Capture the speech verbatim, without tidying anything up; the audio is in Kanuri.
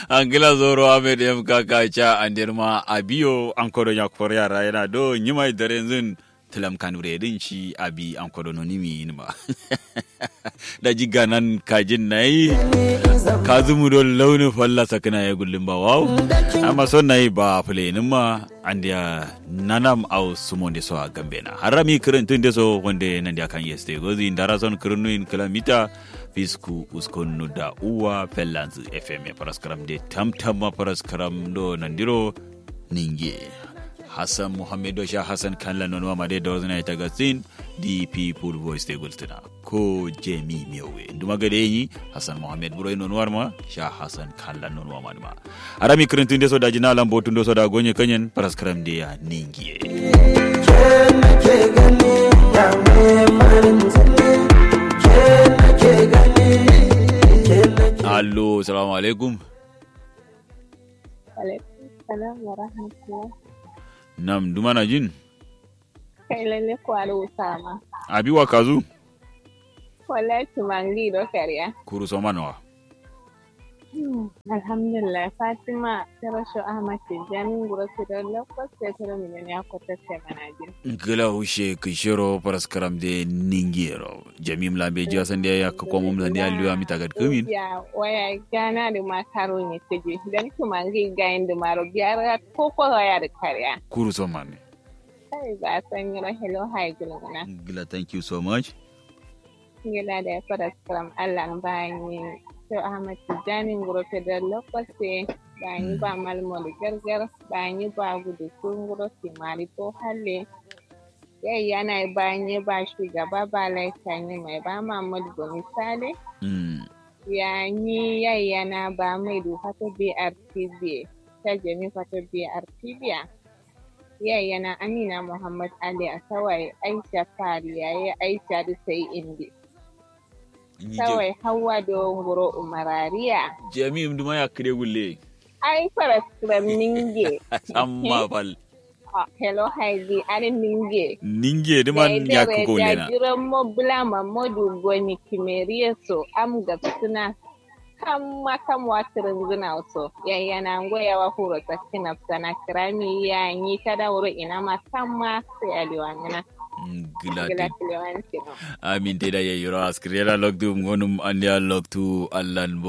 Angla zoro ahmed m kaka ca andirma abiyo ankodo nyakor yara yana do nyimai darenzin. Tilam kanure din ci abi ankodo nonimi inma. Da jiga nan kajin nayi kazumu do launi falla sakina ya gullin ba wawo. Amma son nayi ba fule inma andiya nanam au sumonde so a gambena harami kirintun de so wande nandiya kan yeste gozi ndara son kirinnuin kilamita. Fisku uskon nuda uwa fellanzu fm e paraskaram de tamtamma paraskaram do nandiro ninge. Hassan muhammed do sha hassan kanla nonuwa ma de dozna ita gasin. Di people voice de gultuna ko jemi mewe nduma gade yi hassan muhammed buro nonuwar ma sha hassan kanla nonuwa ma duma. Arami kirintin de so da jina lambo tun do so da gonye kanyen paraskaram de ya ningiye. Allo salamu alaikum. Alaikum salam wa rahmatullah. Nam duma na jin. Kai lalle kwaro usama. Abi wa kazu. Wallahi tumangi do kariya. Kuru somanwa. Alhamdulillah fatima. Tero sho ahmad tijjani nguro kidon lokos te tero milen ya kote te manajin. Gila ushe kishiro paraskaram de ningiro jamim lambe jiya sandiya ya kakomum sandiya liwa mita gad kumin. Ya waya gana de makaro ni tiji dan tumangi gain de maro biara koko waya de kariya. Kuru somane. Kai ba sanyiro hello hai gulguna. Gila thank you so much. Ngila da ya fada skram allan bayanyi. Tau ahmad tijjani nguro federal lokoste. Bayanyi ba malmol gargar. Bayanyi ba gudu su nguro simari ko halle. Yai yana bayanyi ba shugaba ba laita nyi mai ba mahmud goni sale. Yanyi yai yana ba mai du fato brtb. Ta jami fato brtb ya. Yai yana amina muhammad ali a tawaye aisha fari yaye aisha du sai indi. Tawaye hauwa do nguro umarariya. Jami im duma ya kide gulle. Ai faraskram ninge. Samma fal. Hello haidi ari ninge. Ninge duma ya kuko lena. Jiran mo bula mamodu goni kimeriye so am gabsuna. Kamma kam wa kǝrǝnzǝna so yayyana ngo yawa furo sakki nabsana kǝrami yanyi kada wuro inama kamma sai aliwangǝna. Gǝla. Amin te da yayyiro askǝrera loktu ngonum andiya loktu allan bo.